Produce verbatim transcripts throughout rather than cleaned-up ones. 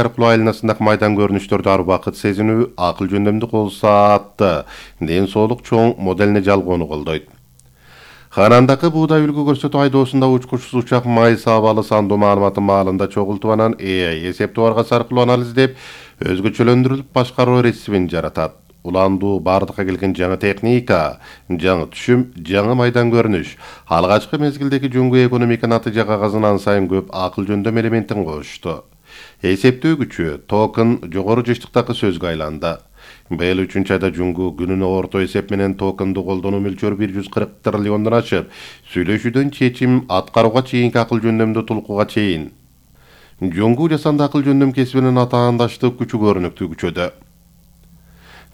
аркылуу айланасындагы майдан көрүнүштөрдү ар убакыт сезинүү, акыл жөндөмдү кол саатты ден соолук чоң моделине жалгоону колдойт. Ханандагы буудай үлгү көрсөтүү айдоосунда учкучсуз учак май сабалы сандуу маалыматын маалында чогултуп анан A I эсептөө аргасы аркылуу анализдеп, өзгөчөлөндүрүлүп башкаруу ресибин жаратат. Уландуу бардыкка келген жаңы техника, жаңы түшүм, жаңы майдан көрүнүш, алгачкы мезгилдеги жөнгө экономика натыйжа кагазына ан сайын көп акыл жөндөм элементин кошту. Эсептөө күчү токен жогору жыштыктагы сөзгө айланды. Быйыл үчүнчү айда жөнгө күнүнө орто эсеп менен токенду колдонуу мөлчөрү бир жүз кырк триллиондон ашып, сүйлөшүүдөн чечим аткарууга чейинки акыл жөндөмдүү тулкууга чейин. Жөнгө жасанды акыл жөндөм кесибинин атаандаштык күчү көрүнүктүү күчөдө.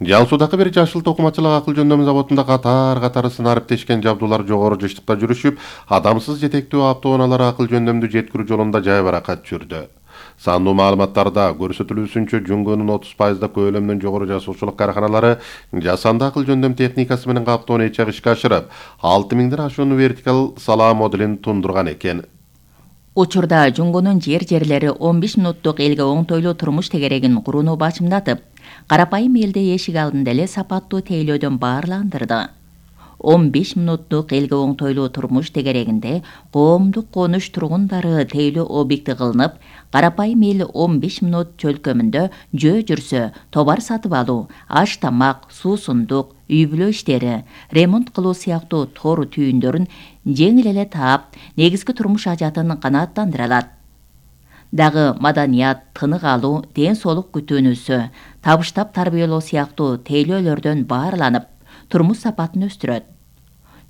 Жал Суудагы бир жашыл токумачылык акыл жөндөм заводунда катар-катары сынариптешкен жабдуулар жогору жыштыкта жүрүшүп, адамсыз жетектөө автоунаалар акыл жөндөмдү жеткирүү жолунда жай баракат жүрдү. Сандуу маалыматтарда көрсөтүлүүсүнчө жөнгөнүн отуз пайызда көлөмүнөн жогору жасоочулук карканалары жасанды акыл жөндөм техникасы менен каптоону эчек ишке ашырып, алты миңден ашуун вертикал салаа моделин тундурган экен. Учурда жөнгөнүн жер-жерлери он беш мүнөттүк элге оңтойлуу турмуш тегерегин курууну бачымдатып, карапайым элди эшик алдында эле сапаттуу тейлөөдөн баарландырды. он беш мүнөттүк элге оңтойлуу турмуш тегерегинде коомдук конуш тургундары тейлөө объекти кылынып, карапайым эл он беш мүнөт чөлкөмүндө жөө жүрсө, товар сатып алуу, аш-тамак, суусундук, үй-бүлө иштери, ремонт кылуу сыяктуу тор түйүндөрүн жеңил эле таап, негизги турмуш ажатын канааттандыра алат. Дагы маданият, тынык алуу, ден соолук күтүүнүсү, табыштап тарбиялоо сыяктуу тейлөөлөрдөн баарланып, турмуш сапатын өстүрөт.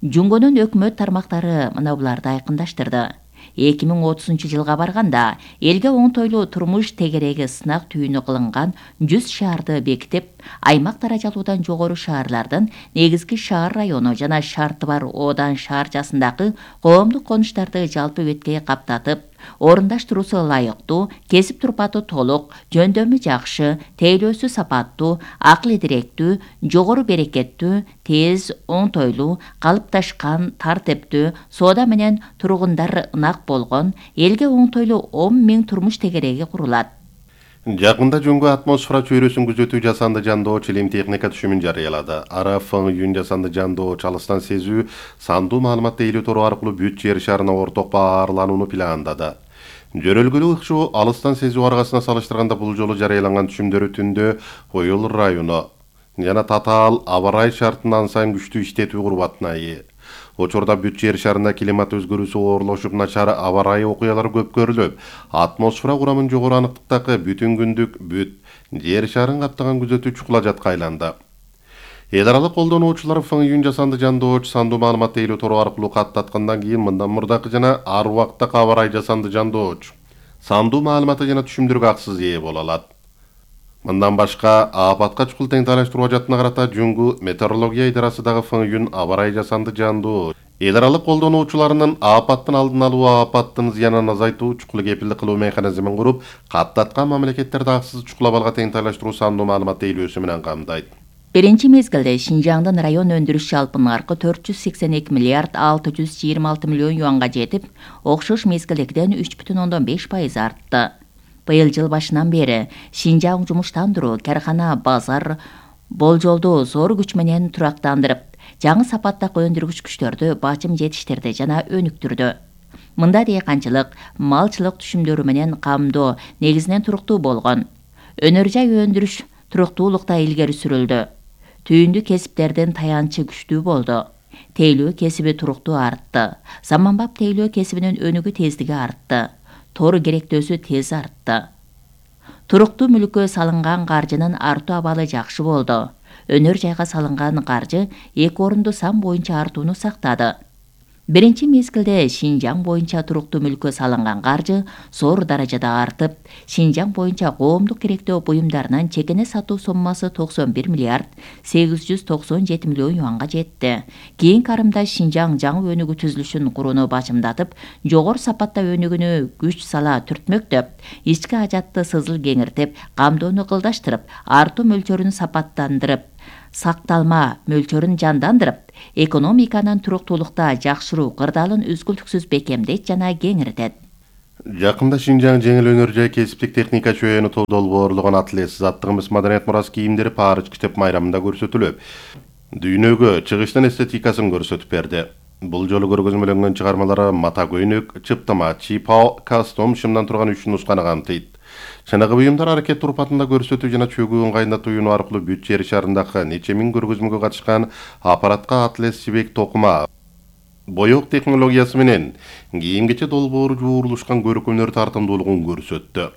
Жөнгөнүн өкмөт тармактары мына буларды айкындаштырды. эки миң отузунчу жылга барганда элге оңтойлуу турмуш тегереги сынак түйүнү кылынган жүз шаарды бекитип, аймак даражалуудан жогору шаарлардын негизги шаар району жана шарты бар оодан шаарчасындагы коомдук конуштарды жалпы бетке каптатып, орундаштыруусу ылайыктуу, кесип турпаты толук, жөндөмү жакшы, тейлөөсү сапаттуу, акыл идиректүү, жогору берекеттүү, тез, оңтойлуу, калыпташкан, тартиптүү, соода менен тургундар ынак болгон, элге оңтойлуу он миң турмуш тегереги курулат. Жакында жөнгө атмосфера чөйрөсүн күзөтүү жасанды жандооч илим техника түшүмүн жарыялады. Ара фң жасанды жандооч алыстан сезүү, сандуу маалымат тейлөө тору аркылуу бүт жер шарына орток баарланууну пландады. Жөрөлгөлүү ыкшоо алыстан сезүү аргасына салыштырганда бул жолу жарыяланган түшүмдөрү түндө Коюл району жана татаал аба ырайы шартында ан сайын күчтүү иштетүү курбатына ээ. Учурда бүт жер шарында климат өзгөрүүсү оорлошуп, начар аба ырайы окуялары көп көрүлүп, атмосфера курамын жогору аныктыктагы бүтүн күндүк бүт жер шарын каптаган күзөтүү чукула жатка айланды. Эл аралык колдонуучулар фң жасанды жандооч сандуу маалымат тейлөө тору аркылуу каттаткандан кийин мындан мурдакы жана ар убакыттагы аба ырайы жасанды жандооч сандуу маалыматы жана түшүмдөргө аксыз ээ боло алат. Мындан башка апатка чукул тең таалаштыруу ажатына карата жөнгө метеорология идарасы дагы фң аба ырайы жасанды жандооч эл аралык колдонуучуларынын апаттын алдын алуу, апаттын зыянын азайтуу, чукул кепилдик кылуу механизмин куруп, каттаткан мамлекеттерди аксыз чукул абалга тең таалаштыруу сандуу маалымат тейлөөсү менен камдайт. Биринчи мезгилде Шинжаңдын район өндүрүш жалпы наркы төрт жүз сексен эки миллиард алты жүз жыйырма алты миллион юанга жетип, окшош мезгилдегиден үч бүтүн ондон беш пайыз артты. Быйыл жыл башынан бери Шинжаң жумуштандыруу, каркана, базар болжолду зор күч менен турактандырып, жаңы сапаттагы өндүргүч күчтөрдү бачым жетиштерди жана өнүктүрдү. Мында дыйканчылык, малчылык түшүмдөрү менен камдоо негизинен туруктуу болгон. Өнөр жай өндүрүш туруктуулукта илгери сүрүлдү. Түйүндү кесиптердин таянчы күчтүү болду. Тейлөө кесиби туруктуу артты. Заманбап тейлөө кесибинин өнүгүү тездиги артты. Тору керектөөсү тез артты. Туруктуу мүлккө салынган каржынын артуу абалы жакшы болду. Өнөр жайга салынган каржы эки орунду сан боюнча артууну сактады. Биринчи мезгилде Шинжаң боюнча туруктуу мүлккө салынган каржы зор даражада артып, Шинжаң боюнча коомдук керектөө буюмдарынын чекене сатуу соммасы токсон бир миллиард сегиз жүз токсон жети миллион юанга жетти. Кийинки арымда Шинжаң жаңы өнүгүү түзүлүшүн курууну бачымдатып, жогору сапатта өнүгүүнү күч сала түртмөктөп, ички ажатты сызыл кеңиртип, камдоону кылдаштырып, артуу мөлчөрүн сапаттандырып, сакталма мөлчөрүн жандандырып, экономиканын туруктуулукта жакшыруу кырдаалын үзгүлтүксүз бекемдейт жана кеңиртет. Жакында Шинжаң жеңил өнөр жай кесиптик техника чөйөнү долбоорлогон атлет заттыгыбыз маданият мурас кийимдери Париж китеп майрамында көрсөтүлүп, дүйнөгө чыгыштын эстетикасын көрсөтүп берди. Бул жолу көргөзмөлөнгөн чыгармалары мата көйнөк, чыптыма, чипао, костюм, шымдан турган үч нусканы камтыйт. Чыныгы буюмдар аракет турпатында көрсөтүү жана чөгүү ыңгайында туюнуу аркылуу бүт жер шарындагы нече миң көргөзмөгө катышкан аппаратка атлет жибек токума, боёк технологиясы менен кийим-кече долбоору жуурулушкан көркөмдөр тартымдуулугун көрсөттү.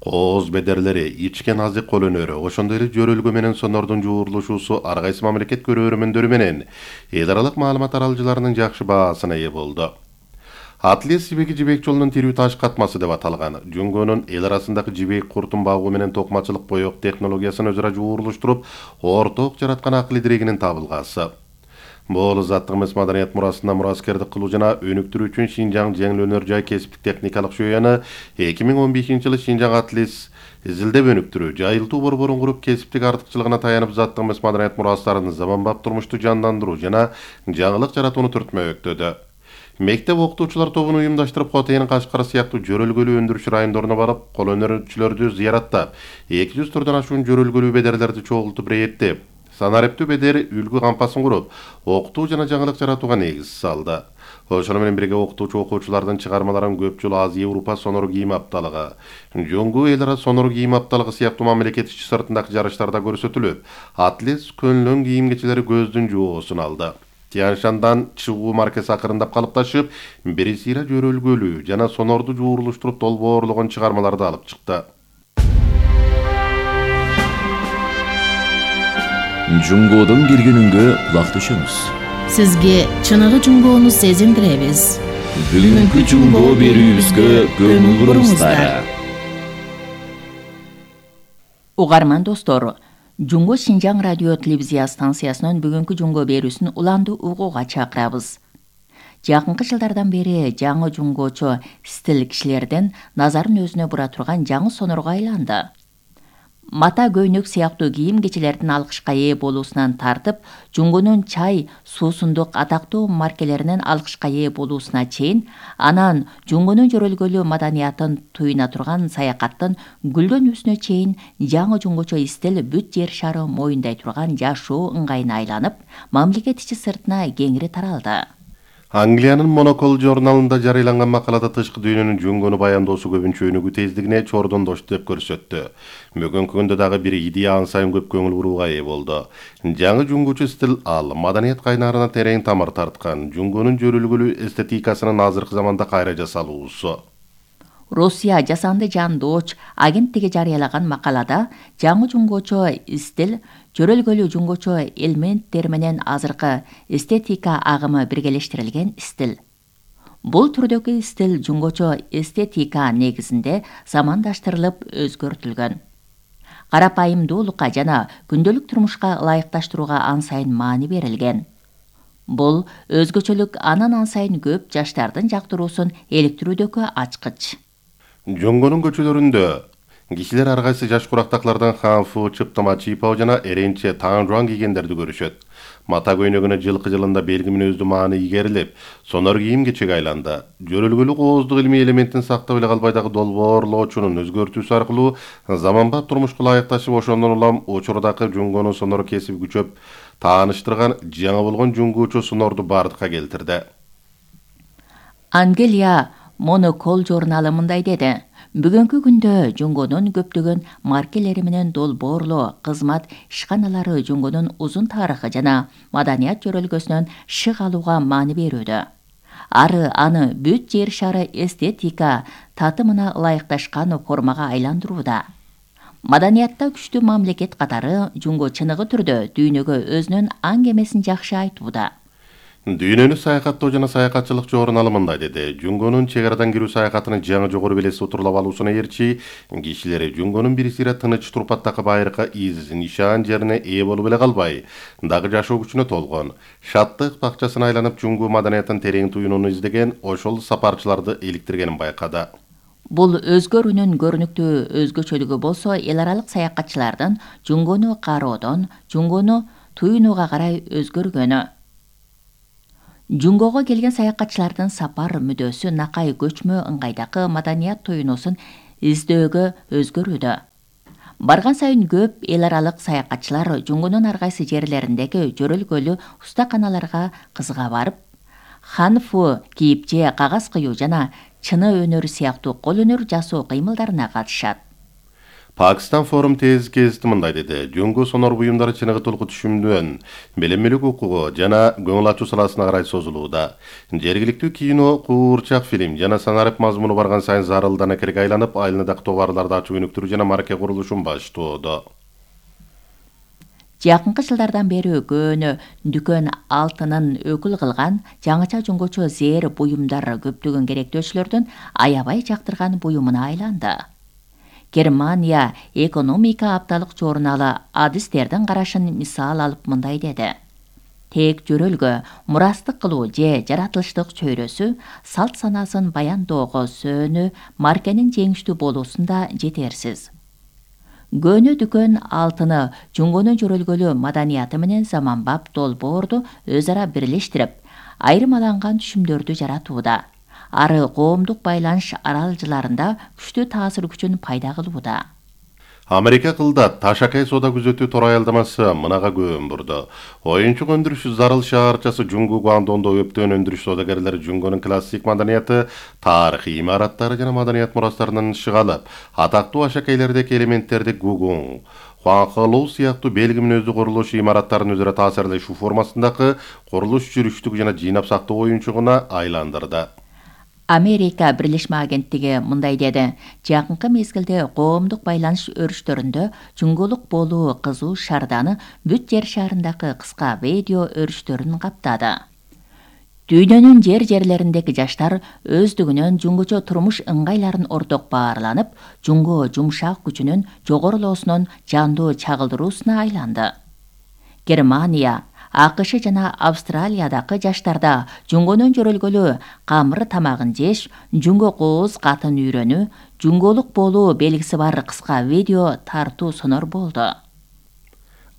Кооз бедерлери, ичкен азык кол өнөрү, ошондой эле жөрөлгө менен сонордун жуурулушуусу ар кайсы мамлекет көрөрмөндөрү менен эл аралык маалымат аралыcılarынын жакшы баасына ээ болду. Атлет жибеги жибек жолунун тирүү таш катмасы деп аталган. Жөнгөнүн эл арасындагы жибек куртун багуу менен токмачылык боёк технологиясын өзара жуурулуштуруп, орток жараткан акыл идирегинин табылгасы. Бул заттыгыбыз маданият мурасына мураскердик кылуу жана өнүктүрүү үчүн Шинжаң жеңил өнөр жай кесиптик техникалык чөйөнү эки миң он бешинчи жылы Шинжаң атлет изилдеп өнүктүрүү, жайылтуу борборун куруп кесиптик артыкчылыгына таянып заттыгыбыз маданият мурастарын заманбап турмушту жандандыруу жана жаңылык жаратууну түртмөктөдө. Мектеп окутуучулар тобун уюмдаштырып, Хотейн, Кашкар сыяктуу жөрөлгөлүү өндүрүш райондоруна барып, кол өнөрчүлөрдү зыяраттап, эки жүз түрдөн ашуун жөрөлгөлүү бедерлерди чогултуп рейеттеп, санариптүү бедер үлгү кампасын куруп, окутуу жана жаңылык жаратууга негиз салды. Ошону менен бирге окутуучу окуучулардын чыгармаларын көп жыл Азия Европа сонор кийим апталыгы, Жоңгу эл ара сонор кийим апталыгы сыяктуу мамлекет ичи сыртындагы жарыштарда көрсөтүлүп, атлет көнлөн кийим-кечелери көздүн жоосун алды. Тяньшандан чыгуу маркасы акырындап калыпташып, бирисира жөрөлгөлүү жана сонорду жуурулуштуруп долбоорлогон чыгармаларды алып чыкты. Жуңгоодон бир күнүнгө кулак түшөмүз. Сизге чыныгы жуңгоону сезиндиребиз. Бүгүнкү жуңгоо берүүбүзгө көңүл буруңуздар. Угарман достор, Жуңго Шинжаң радио телевизия станциясынын бүгүнкү жуңго берүүсүн уланды угууга чакырабыз. Жакынкы жылдардан бери жаңы жуңгоочу стиль кишилердин назарын өзүнө бура турган жаңы сонорго айланды. Мата көйнөк сыяктуу кийим-кечелердин алкышка ээ болуусунан тартып, жуңгонун чай, суусундук атактуу маркелеринин алкышка ээ болуусуна чейин, анан жуңгонун жөрөлгөлүү маданиятын туюна турган саякаттын гүлдөнүүсүнө чейин жаңы жуңгочо стиль бүт жер шары моюндай турган жашоо ыңгайына айланып, мамлекет ичи сыртына кеңири таралды. Англиянын Монокол журналында жарыяланган макалада тышкы дүйнөнүн жуңгону баяндоосу көбүнчө өнүгүү тездигине чордондошту деп көрсөттү. Бүгүнкү күндө дагы бир идея ан сайын көп көңүл бурууга ээ болду. Жаңы жуңгучу стиль ал маданият кайнарына терең тамыр тарткан, жуңгонун жөрөлгөлүү эстетикасынын азыркы заманда кайра жасалуусу. Россия жасанды жан дооч агенттиги жарыялаган макалада жаңы жуңгочо стиль жөрөлгөлүү жуңгочо элементтер менен азыркы эстетика агымы биргелештирилген стиль. Бул түрдөгү стиль жуңгочо эстетика негизинде замандаштырылып өзгөртүлгөн. Карапайымдуулукка жана күндөлүк турмушка ылайыкташтырууга ан сайын маани берилген. Бул өзгөчөлүк анан ан сайын көп жаштардын жактыруусун иликтирүүдөгү ачкыч. Жоңгонун көчөлөрүндө кишилер ар кайсы жаш курактаклардан ханфу, чыптыма, чипао жана эренче таңжуан кийгендерди көрүшөт. Мата көйнөгүнө жылкы жылында белги мүнөздүү маани ийгерилип, сонор кийим-кечеге айланды. Жөрөлгөлүү кооздук илимий элементин сактап эле калбай дагы долбоорлоочунун өзгөртүүсү аркылуу заманбап турмушка ылайыкташып, ошондон улам учурдагы жуңгону сонор кесип күчөп тааныштырган жаңы болгон жуңгуучу сонорду бардыкка келтирди. Англия Монокол журналы мындай деди: Бүгүнкү күндө жуңгонун көптөгөн маркелери менен долбоорлоо, кызмат ишканалары жуңгонун узун тарыхы жана маданият жөрөлгөсүнөн шык алууга маани берүүдө. Ары аны бүт жер шары эстетика татымына ылайыкташкан формага айландырууда. Маданиятта күчтүү мамлекет катары жуңго чыныгы түрдө дүйнөгө өзүнүн аң эмесин жакшы айтууда. Дүйнөнү саякаттоо жана саякатчылык журналы мындай деди: Жуңгонун чек арадан кирүү саякатынын жаңы жогору белеси утурлап алуусуна эрчи, кишилери жуңгонун бир сыйра тыныч турпаттагы байыркы изин нишан жерине ээ болуп эле калбай, дагы жашоо күчүнө толгон, шаттык бакчасына айланып жуңгу маданиятын терең туюнууну издеген ошол сапарчыларды иликтиргенин байкады. Бул өзгөрүүнүн көрүнүктүү өзгөчөлүгү болсо, эл аралык саякатчылардын жуңгону кароодон жуңгону туюнууга карай өзгөргөнү. Жунгого келген саякатчылардын сапар мүдөөсү накай көчмө ыңгайдагы маданият тоюнусун издөөгө өзгөрүүдө. Барган сайын көп эл аралык саякатчылар Жунгунун ар кайсы жерлериндеги жөрөлгөлүү устаканаларга кызыга барып, ханфу кийип же кагаз кыюу жана чыны өнөрү сыяктуу кол өнөр жасоо кыймылдарына катышат. Pakistan Forum tez кезди мындай деди. Жунгу сонор буюмдары чыныгы толку түшүмдөн, белемелик укугу жана көңүл ачуу саласына карай созулууда. Жергиликтүү кино, куурчак фильм жана санарип мазмуну барган сайын зарылдана керге айланып, айылындагы товарларды ачуу өнүктүрүү жана марке курулушун баштоодо. Жакынкы жылдардан бери көөнө дүкөн алтынын өкүл кылган жаңыча жунгучу зээр буюмдар көптөгөн керектөөчүлөрдүн аябай жактырган буюмуна айланды. Германия экономика апталык журналы адистердин карашын мисал алып мындай деди. Тек жөрөлгө, мурастык кылуу же жаратылыштык чөйрөсү салт санасын баяндоого сөөнү маркенин жеңиштүү болуусунда жетерсиз. Көөнө дүкөн алтыны Жунгунун жөрөлгөлүү маданияты менен заманбап долбоорду өз ара бирлештирип, айырмаланган түшүмдөрдү жаратууда. Ары коомдук байланыш аралжыларында күчтүү таасир күчүн пайда кылууда. Америка кылдат Ташакай соода күзөтүү тор аялдамасы мынага көөн бурду. Оюнчук өндүрүш зарыл шаарчасы Жунгу Гуандондо өптөн өндүрүш соодагерлери Жунгунун классик маданияты, тарыхый имараттары жана маданият мурастарынан ышык алып, атактуу ашакейлердеги элементтерди Гугун, Хуанхалоу сыяктуу белги мүнөздүү курулуш имараттарын өзара таасирлешүү формасындагы курулуш жүрүштүк жана жыйнап сактоо оюнчугуна айландырды. Америка Бирлешме агенттиги мындай деди. Жакынкы мезгилде коомдук байланыш өрүштөрүндө жунгулук болуу кызуу шарданы бүт жер шарындагы кыска видео өрүштөрүн каптады. Дүйнөнүн жер жерлериндеги жаштар өздүгүнөн жунгучу турмуш ыңгайларын орток баарланып, жунго жумшак күчүнүн жогорулоосунун жандуу чагылдыруусуна айланды. Германия, АКШ жана Австралиядагы жаштарда жунгонун жөрөлгөлүү камыр тамагын жеш, жунго кооз катын үйрөнүү, жунголук болуу белгиси бар кыска видео тартуу сонор болду.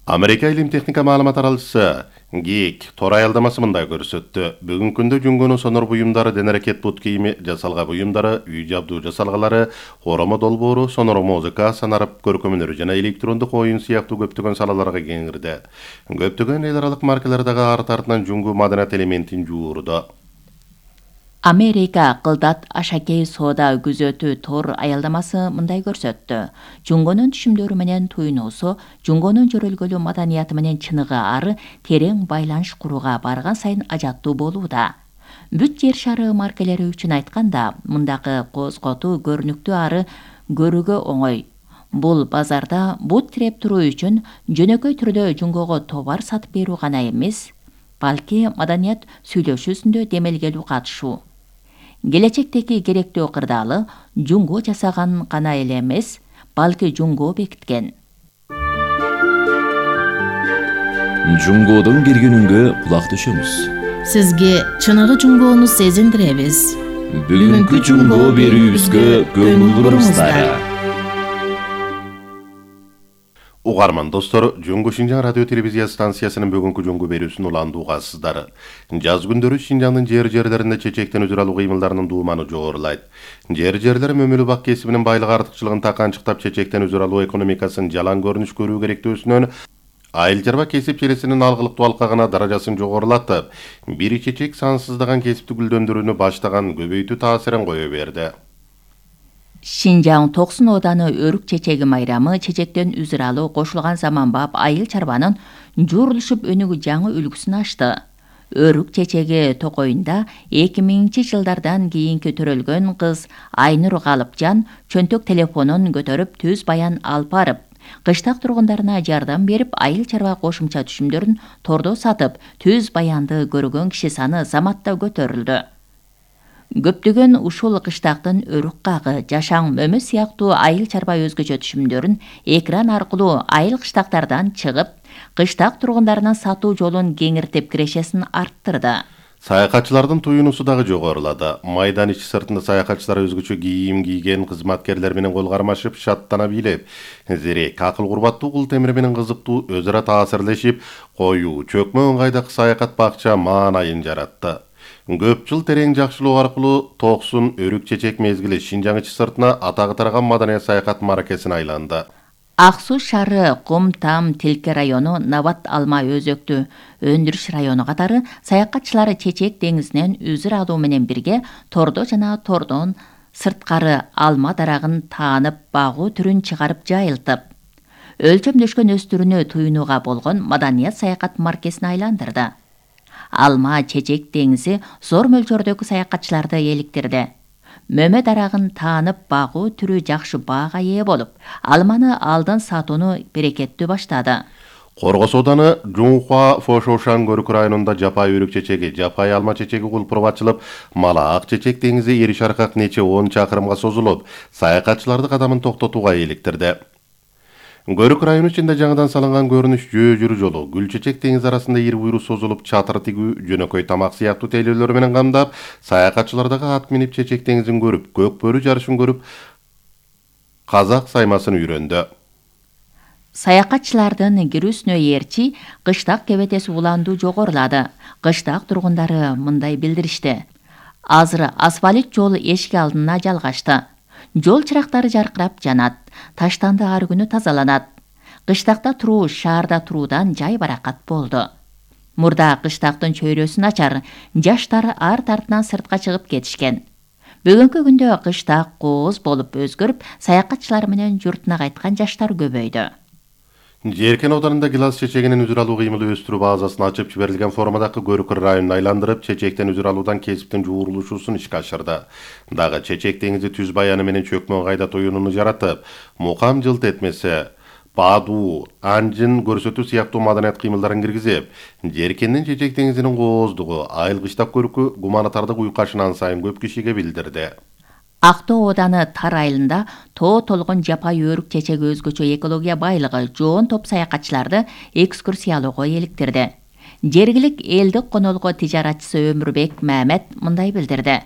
Америка илим техника маалымат аралчысы Гик тор аялдамасы мындай көрсөттү. Бүгүнкү күндө жунгонун сонор буюмдары, ден аракет бут кийими жасалга буюмдары, үй жабдуу жасалгалары, оромо долбоору, сонор музыка, санарип көркөмөнөр жана электрондук оюн сыяктуу көптөгөн салаларга кеңирди. Көптөгөн эл аралык маркалардагы арт артынан жунгу маданият элементин жуурду. Америка кылдат ашакей соода күзөтүү тор аялдамасы мындай көрсөттү. Жунгонун түшүмдөрү менен туйнуусу, жунгонун жөрөлгөлүү маданияты менен чыныгы ары терең байланыш курууга барган сайын ажаттуу болууда. Бүт жер шары маркелери үчүн айтканда, мындагы козготуу көрүнүктүү ары көрүүгө оңой. Бул базарда бут тиреп туруу үчүн жөнөкөй түрдө жунгого товар сатып берүү гана эмес, балки маданият сүйлөшүүсүндө демелгелүү катышуу. Келечектеги керектүү кырдаалы жунго жасаган гана эле эмес, балки жунго бекиткен. Жунгодон киргенүнгө кулак түшөмүз. Сизге чыныгы жунгоону сезиндиребиз. Бүгүнкү жунго берүүбүзгө көңүл буруңуздар. Угарман достор, Жунгу Шинжаң радио телевизия станциясынын бүгүнкү жунгу берүүсүн уландуу угасыздар. Жаз күндөрү Шинжаңдын жер жерлеринде чечектен өзүр алуу кыймылдарынын дууманы жогорулайт. Жер жерлер мөмөлүү бак кесибинин байлык артыкчылыгын таканчыктап чечектен өзүр алуу экономикасын жалаң көрүнүш көрүү керектөөсүнөн айыл чарба кесип челесинин алгылыктуу алкагына даражасын жогорулатып, бир чечек сансыздаган кесипти гүлдөндүрүүнү баштаган көбөйтүү таасирин кое берди. Шинжаң токсон ооданы өрүк чечеги майрамы чечектен үзүр алуу кошулган заманбап айыл чарбанын жуурулушуп өнүгүү жаңы үлгүсүн ачты. Өрүк чечеги токоюнда эки миңинчи жылдардан кийинки төрөлгөн кыз Айнур Галыпжан чөнтөк телефонун көтөрүп түз баян алып барып, кыштак тургундарына жардам берип, айыл чарба кошумча түшүмдөрүн тордо сатып, түз баянды көргөн киши саны заматта көтөрүлдү. Көптөгөн ушул кыштактын өрүк кагы, жашаң мөмө сыяктуу айыл чарба өзгөчө түшүмдөрүн экран аркылуу айыл кыштактардан чыгып, кыштак тургундарына сатуу жолун кеңиртип кирешесин арттырды. Саякатчылардын туюнусу дагы жогорулады. Майдан ичи сыртында саякатчылар өзгөчө кийим кийген кызматкерлер менен кол кармашып, шаттана бийлеп, зерек, акыл курбаттуу кул темир менен кызыктуу өзү ара таасирлешип, коюу, чөкмө ыңгайдагы саякат бакча маанайын жаратты. Көп жыл терең жакшылоо аркылуу токсун өрүк чечек мезгили Шинжаң ичи сыртына атагы тараган маданият саякат маракесине айланды. Ак суу шаары, Кум Там Тилке району, Набат Алма Өзөктү өндүрүш району катары саякатчылар Чечек деңизинен үзүр алуу менен бирге тордо жана тордон сырткары алма дарагын таанып, багуу түрүн чыгарып жайылтып, өлчөмдөшкөн өстүрүүнү туюнууга болгон маданият саякат маркесине айландырды. Алма Чечек деңизи зор мөлчөрдөгү саякатчыларды эликтирди. Мөмө дарагын таанып, багуу түрү жакшы баага ээ болуп, алманы алдын сатууну берекеттүү баштады. Коргос ооданы Жунхуа Фошошан көрүк районунда жапай өрүк чечеги, жапай алма чечеги кулпуруп ачылып, Малаак Чечек деңизи эри шаркак нече он чакырымга созулуп, саякатчыларды кадамын токтотууга иликтирди. Көрүк району ичинде жаңыдан салынган көрүнүш жөө жүрүү жолу, Гүл Чечек деңиз арасында ири буйру созулуп, чатыр тигүү, жөнөкөй тамак сыяктуу тейлөөлөр менен камдап, саякатчылар дагы ат минип Чечек деңизин көрүп, көк бөрү жарышын көрүп, казак саймасын үйрөндү. Саякатчылардын кирүүсүнө ээрчи кыштак кебетеси уландуу жогорулады. Кыштак тургундары мындай билдиришти. Азыр асфальт жол эшик алдына жалгашты. Жол чырактары жаркырап жанат, таштанды ар күнү тазаланат. Кыштакта туруу шаарда туруудан жай баракат болду. Мурда кыштактын чөйрөсүн ачар, жаштар арт артынан сыртка чыгып кетишкен. Бүгүнкү күндө кыштак кооз болуп өзгөрүп, саякатчылар менен журтуна кайткан жаштар көбөйдү. Жеркен ауданында гилас чечегинин үзүр алуу кыймылы өстүрүү базасын ачып жиберилген формадагы көрүк районун айландырып, чечектен үзүр алуудан кесиптин жуурулушуусун ишке ашырды. Дагы Чечек деңизи түз баяны менен чөкмө ыңгайда туюнууну жаратып, мукам жылт этмесе, баадуу, анжын көрсөтүү сыяктуу маданият кыймылдарын киргизип, Жеркендин Чечек деңизинин кооздугу, айыл кыштак көрүкү гуманитардык уйкашынан сайын көп кишиге билдирди. Актоо ооданы Тар айылында тоо толгон жапай өрүк чечеги өзгөчө экология байлыгы жоон топ саякатчыларды экскурсиялоого эликтирди. Жергилик элдик конолго тижаратчысы Өмүрбек Мамет мындай билдирди.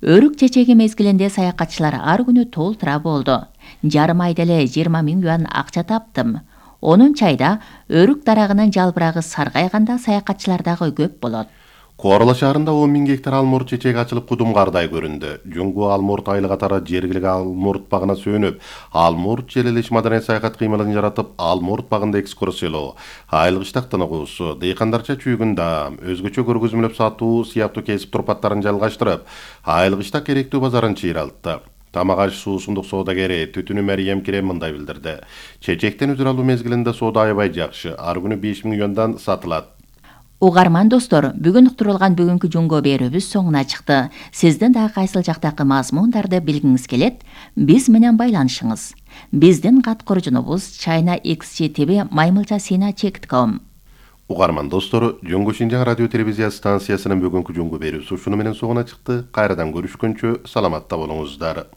Өрүк чечеги мезгилинде саякатчылар ар күнү толтура болду. Жарым айда эле жыйырма миң юан акча таптым. Онунчу айда өрүк дарагынын жалбырагы саргайганда саякатчылар дагы көп болот. Коорло шаарында он миң гектар алмурт чечеги ачылып кудум кардай көрүндү. Жуңгу алмурт айылы катары жергилик алмурт багына сүйөнүп, алмурт желелеш маданият саякат кыймылын жаратып, алмурт багында экскурсиялоо, айыл кыштак тыныгуусу, дыйкандарча чүйгүн даам, өзгөчө көргөзмөлөп сатуу сыяктуу кесип турпаттарын жалгаштырып, айыл кыштак керектүү базарын чыйралтты. Тамак аш суусундук соодагери Түтүнү Мариям Кирем мындай билдирди. Чечектен үзүр алуу мезгилинде соода аябай жакшы, ар күнү беш миң юандан сатылат. Угарман достор, бүгүн уктурулган бүгүнкү жунго берүүбүз соңуна чыкты. Сиздин дагы кайсыл жактагы мазмундарды билгиңиз келет, биз менен байланышыңыз. Биздин кат коржунубуз China X G T V маймылча сина чек ком. Угарман достор, Жуңгу Шинжаң радио телевизия станциясынын бүгүнкү жунго берүүсү ушуну менен соңуна чыкты. Кайрадан көрүшкөнчө саламатта болуңуздар.